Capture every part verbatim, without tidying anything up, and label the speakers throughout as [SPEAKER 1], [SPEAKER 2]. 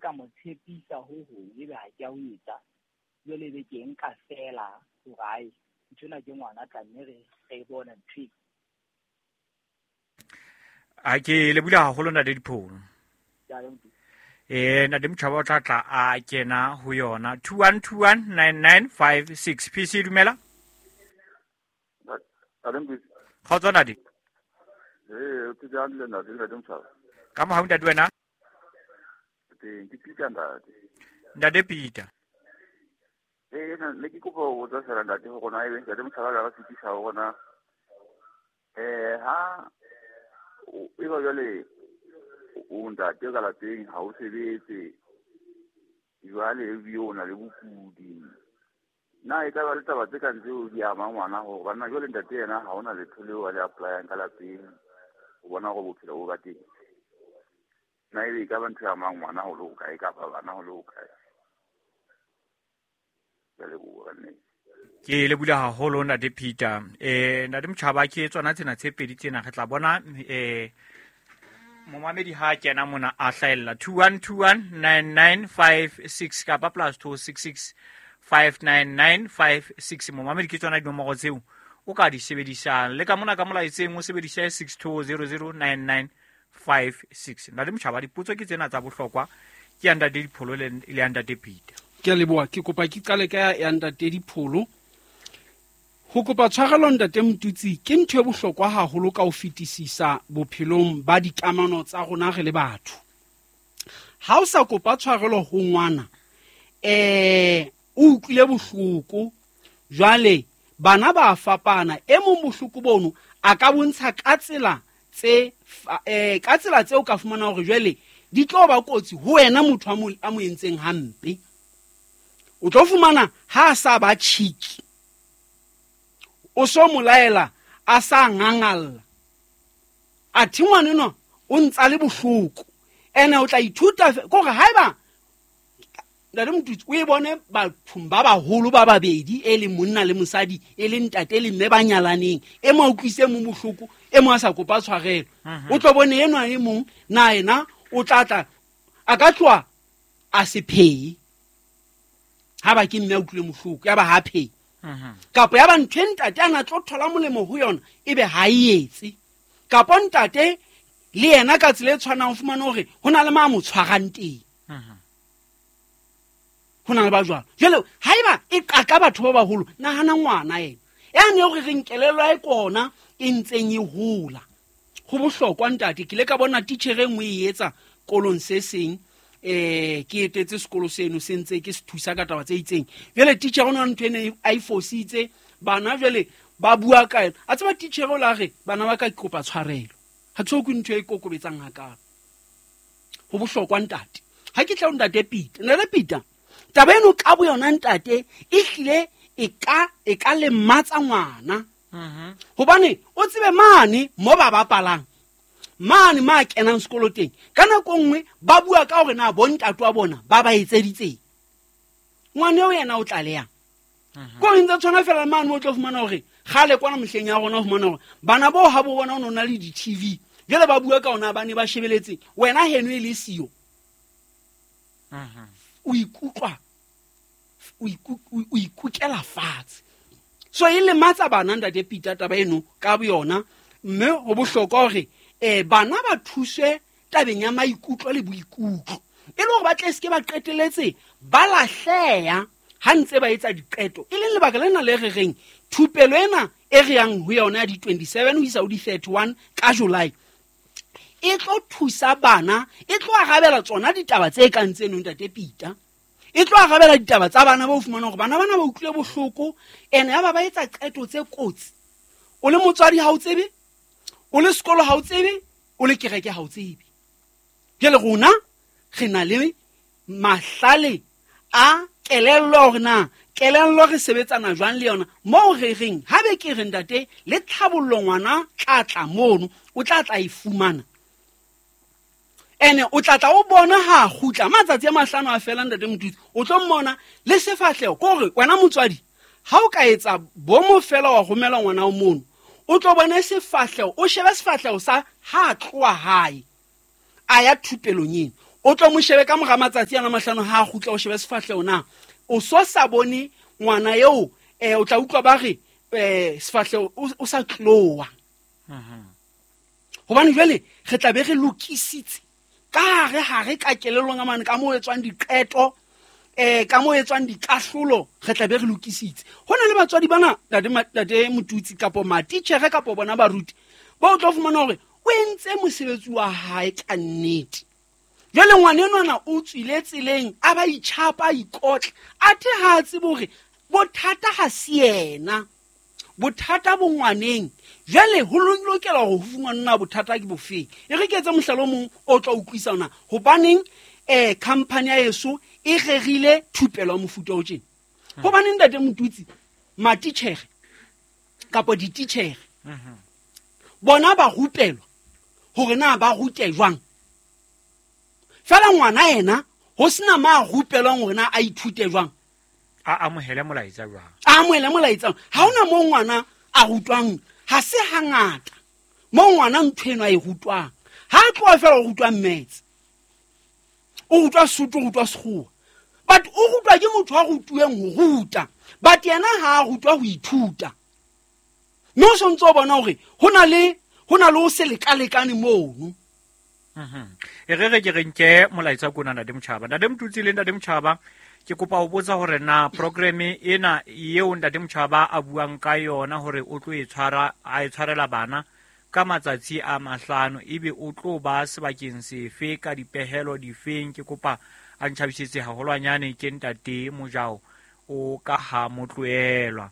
[SPEAKER 1] ka mo tshepisa ho hong ebe ha ke a ho etsa, jwale ebe ke nka feela hore ae nthwena ke ngwana tla mme re re bone ntho e.
[SPEAKER 2] A ke lebohile haholo ntate Dipholo. Eh ntate Motjhaba o tla tla a kena ho yona. two one two one nine nine five six. P C dumela. Kgotso ntate.
[SPEAKER 3] Eh ke jang le ntate ntate Motjhaba.
[SPEAKER 2] Ka mohau ntate wena?
[SPEAKER 3] Teng ke Peter ntate.
[SPEAKER 2] Ntate Peter.
[SPEAKER 3] Eh ne ke kopa ho botsa fela ntate hore na ebe ntate Motjhaba ka fetisa hore na eh ha e ba jwale o ntate ka lapeng ha o sebetse jwale ebile o na le bokudi, na e ka ba le taba tse kang tseo di ama ngwana hore banna jwale ntate yena ha ona letho leo a le apply-ang ka lapeng ho bona hore bophelo bo ba teng, na ebe e ka ba ntho e amang ngwana ho le hokae kapa bana ho le hokae? Ke a leboha nnete.
[SPEAKER 2] Ke lebohile haholo ntate Peter. Eh ntate Motjhaba ke tsona tsena tse pedi tsena re tla bona eh momamedi ha kena mona a hlahella two one two one nine nine five six kapa plus two six six five nine nine five six. Momamedi ke tsona dinomoro tseo o ka di sebedisang le ka mona ka molaetseng o sebedise six two zero zero nine nine five six. Ntate Motjhaba dipotso ke tsena tsa bohlokwa ke ya ntate Dipholo le ya ntate Peter.
[SPEAKER 4] Ke a leboha, ke kopa ke qale ka ya ntate Dipholo. Ho kopa tshwarelo ntate Motutsi ke ntho e bohlokwa haholo ka ho fetisisa bophelong ba dikamano tsa rona re le batho. Ha o sa kopa tshwarelo ho ngwana, eh o utlwile bohloko, jwale bana ba fapana, e mong bohloko bono a ka bontsha ka tsela tse eh ka tsela tseo ka fumana hore jwale di tlo ba kotsi ho wena motho a mo a mo entseng hampe. O tlo fumana ha a sa ba chiki, o so molaela a sa ngangalla, a thi ngwana enwa o ntsa le bohloko, ene o tla ithuta kore haeba ntate Motutsi o e bone bathong ba baholo ba babedi e leng monna le mosadi e leng ntate le mme ba nyalaneng, e mo utlwise mo bohloko e mo a sa kopa tshwarelo, o tlo bone enwa e mong na yena o tla tla a ka tloha a se phehe ha ba ke mme a utlwile bohloko ya ba ha phehe, kapa ya ba ntho e ntate a na tlo thola molemo ho yona ebe ha e etse, kapa ntate le yena ka tsela e tshwanang o fumane hore ho na le ma mo tshwarang teng, ho na le ba jwalo. Jwale haeba e qaka batho ba baholo, nahana ngwana ena yane hore re nkelelwa e kona e ntseng e hola. Ho bohlokwa ntate, ke ile ka bona titjhere e nngwe e etsa kolong se seng, eh ke etetse sekolo seno se ntse ke se thusa ka taba tse itseng. Jwale titjhere o na ntho ene a e fositse, bana jwale ba bua ka yena, a tseba titjhere o la re bana ba ka ke kopa tshwarelo, ha ke so kwe ntho e kokobetsang hakalo. Ho bohlokwa ntate. Ha ke tla ho ntate Peter, ntate Peter taba eno ka bo yona ntate e hlile e ka e ka lematsa ngwana, hobane o tsebe mane mo ba bapalang mane ma kenang sekolo teng ka nako nngwe ba bua ka hore na bontate wa bona ba ba etseditseng, ngwana eo yena o tlalehang ko ntse tshwana fela mane o tlo fumana hore kgale kwana mehleng ya rona o fumana hore bana bao ha bo bona o na le di-T V jwale ba bua ka ona ba ne ba shebeletse wena heno e le siyo, o ikutlwa o ikukela fatshe. So e lematsa bana ntate Peter taba eno ka boyona, mme ho bohlokwa hore eh bana ba thuswe tabeng ya maikutlo le boikutlo e le hore ba tle seke ba qeteletse ba lahleha ha ntse ba etsa diqeto, e leng lebaka lena le re reng thupelo ena e re yang ho yona ya di twenty-seven ho isa ho di thirty-one ka July e tlo thusa bana, e tlo arabela tsona ditaba tse kang tseno ntate Peter, e tlo arabela ditaba tsa bana ba o fumana hore bana bana ba utlwile bohloko ene ya ba ba etsa qeto tse kotsi. O le motswadi ha o tsebe, o le sekolo ha o tsebe, o le kereke ha o tsebe. Jwale rona re na le mahlale a kelello hore na kelello re sebetsana jwang le yona, moo re reng ha be ke re ntate le tlhabollo ngwana tla tla mono o tla tla e fumana, ene o tla tla o bona ha kgutla matsatsi a mahlano a fela ntate Motutsi o tlo mmona le sefahleho kore wena motswadi ha o ka etsa bomo fela wa romela ngwana o mono o tlo bona sefahleho, o shebe sefahleho sa ha tloha hae a ya thupelong eno, O tlo mo shebe ka mora matsatsi ana mahlano ha a kgutla o shebe sefahleho na o so sa bone ngwana eo, eh o tla utlwa ba re eh sefahleho o sa tloa. Hobane jwale re tla be re lokisitse ka hare hare ka kelellong a mane ka moo etswang diqeto, eh ka moo etswang dikahlolo, re tla be re lokisitse. Ho na le batswadi bana ntate ntate Motutsi kapo matitjhere kapo bona baruti ba o tlo fumana hore o entse mosebetsi wa hae ka nnete. Jwale ngwana enwana o tswile tseleng a ba itjhapa a ikotla, athe ha a tsebe hore bothata ha se yena, bothata bo ngwaneng. Jwale ho lokela hore ho fumanwa bothata ke bofeng. E re ke etse mohlala o mong o tla utlwisa hona hobaneng eh company ya heso e rerile thupelo ya mofuta o tjena. Hobaneng ntate Motutsi matitjhere kapa dititjhere bona ba rupelwa hore na ba rute jwang. Fela ngwana yena ho sena ma rupelwang hore na a ithute jwang,
[SPEAKER 2] a amohele molaetsa jwang,
[SPEAKER 4] a amohele molaetsa. Ha hona mo ngwana a rutwang, ha se hangata mo ngwana ntho eno a e rutwang. Ha a tloha fela o rutwa maths, o rutwa Sotho, o rutwa Sekgowa, but o rutwa ke motho a rutuweng ho ruta, but yena ha a rutwa ho ithuta. Mme o sontso o bona hore ho na le ho na le ho se lekalekane mono.
[SPEAKER 2] Mhm. E re re ke re nke molaetsa kona ntate Motjhaba. Ntate Motutsi le ntate Motjhaba, ke kopa ho botsa hore na program ena eo ntate Motjhaba a buang ka yona hore o tlo e tshwara a e tshwarela bana ka matsatsi a mahlano, ebe o tlo ba sebakeng sefe ka dipehelo difeng? Ke kopa a ntjhabisetse haholwanyane ke ntate Mojao o ka ha motloelwa.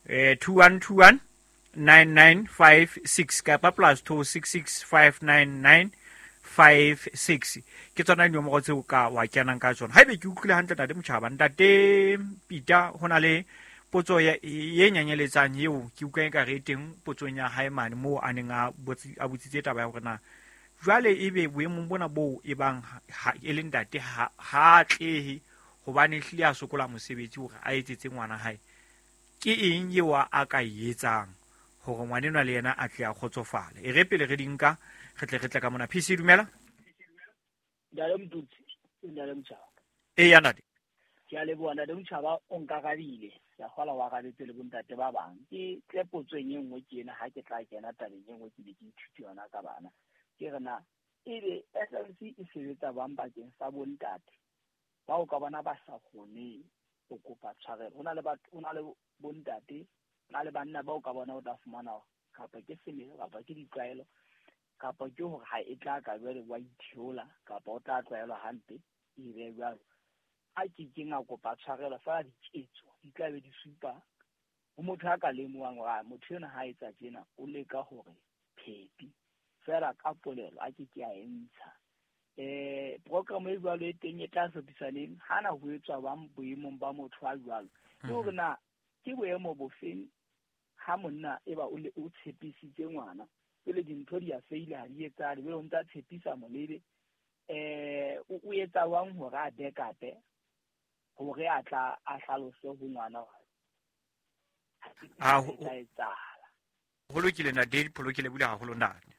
[SPEAKER 2] Eh two one two one nine nine five six kapa plus two six six five nine nine five six ke tsona dinomoro tseo ka wa kenang ka tsona. Haebe ke utlwile hantle ntate Motjhaba, ntate Peter, ho na le potso ya ye nyanyeletsang eo ke utlwa e ka re teng potsong ya hae mane moo a neng a a botsitse taba ya hore na jwale ebe boemong bona boo e bang e le ntate ha ha atlehe hobane hlile a sokola mosebetsi hore a etsetse ngwana hae, ke eng eo a ka e etsang hore ngwana enwa le yena a tle a kgotsofale? E re pele re di nka re tle re tle ka mona. P C dumela.
[SPEAKER 1] Ntate Motutsi, ntate Motjhaba.
[SPEAKER 2] E ya ntate.
[SPEAKER 1] Ke a leboha ntate Motjhaba, o nkarabile. Ke a kgolwa wa arabetse le bontate ba bang. Ke tle potsong e nngwe ke ena ha ke tla kena tabeng e nngwe ke be ke ithute yona ka bana. Ke re na ebe S L C e sebetsa bang bakeng sa bontate bao ka bona ba sa kgoneng ho kopa tshwarelo. Ho na le batho, ho na le bontate, ho na le banna bao ka bona o tla fumana kapa ke semelo kapa ke ditlwaelo kapa ke hore ha e tla ka jwale wa itheola kapa o tla tlwaelwa hampe e be jwalo. A ke keng a kopa tshwarelo fela diketso di tla be di supa ho motho a ka lemohang hore motho ena ha etsa tjena o leka hore phepi fela ka polelo a ke ke a e ntsha. Eh program e jwalo e teng e tla hlophisaneng hana ho etswa bang boemong ba motho a jwalo. Ke hore na ke boemo bofeng ha monna e ba o le o tshepisitse ngwana pele dintho di a feila ha di etsahale, jwale o ntsa tshepisa molebe eh o etsa wang hore a backup-e hore a tla a hlalose ho ngwana hore
[SPEAKER 2] a
[SPEAKER 1] tla etsahala.
[SPEAKER 2] Ho lokile ntate, Pholo, ke lebohile haholo ntate.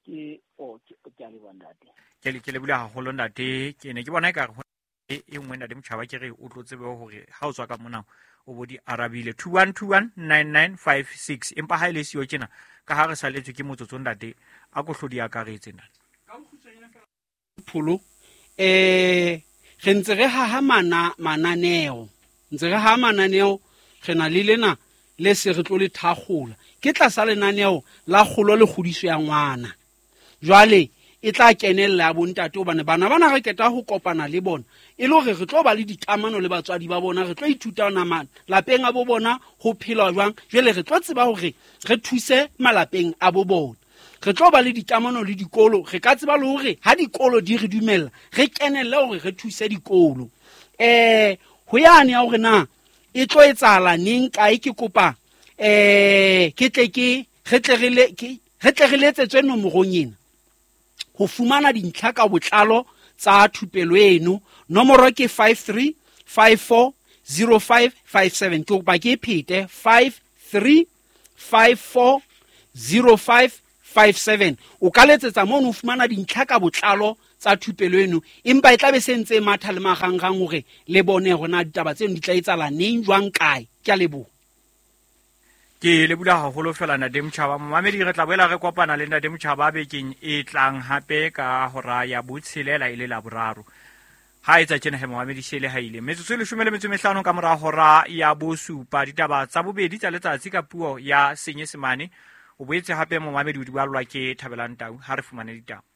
[SPEAKER 1] Ke o ke ke a leboha ntate.
[SPEAKER 2] Ke le ke lebohile haholo ntate. Ke ne ke bona ekare ho e nngwe ntate Motjhaba ke re o tlo tsebe hore ha o tswa ka mona o bo di arabile. Two one two one nine nine five six. Empa ha ile siyo tjena ka ha re saletswe ke motsotso ntate a ko hlodi akaretse ntate.
[SPEAKER 4] Ka bokgutshwanyane fela Pholo, eh re ntse re haha mana mananeo, ntse re haha mananeo, re na le lena le se re tlo le thakgola. Ke tlasa lenaneo la kgolo le kgodiso ya ngwana. Jwale e tla kenella ya bontate hobane bana bana re keta ho kopana le bona e le hore re tlo ba le dikamano le batswadi ba bona, re tlo ithuta nama lapeng a bo bona ho phelwa jwang. Jwale re tlo tseba hore re thuse malapeng a bo bona, re tlo ba le dikamano le dikolo, re ka tseba le hore ha dikolo di re dumella re kenelle hore re thuse dikolo. Eh ho yane ya hore na e tlo etsahala neng kae, ke kopa eh ke tle ke re tle re le ke re tle re letsetswe nomorong ena ho fumana dintlha ka botlalo tsa thupelo eno. Nomoro ke five three five four zero five five seven. Ke kopa ke phete five three five four zero five five seven. O ka letsetsa mono ho fumana dintlha ka botlalo tsa thupelo eno, empa e tla be se ntse e matha le marangrang hore le bone hore na ditaba tseno di tla etsahala neng, jwang, kae. Ke a leboha.
[SPEAKER 2] Ke leboha haholo fela Ntate Motjhaba. Momamedi, re tla boela re kopana le Ntate Motjhaba bekeng e tlang hape ka hora ya botshelela e le Laboraro. Ha etsa tjena he momamedi shele ha ile metsotso e leshome le metso e mehlano ka mora hora ya bosupa. Ditaba tsa bobedi tsa letsatsi ka puo ya Senyesemane. O boetse hape momamedi o di ballwa ke Thabelang Tau. Ha re fumane ditaba.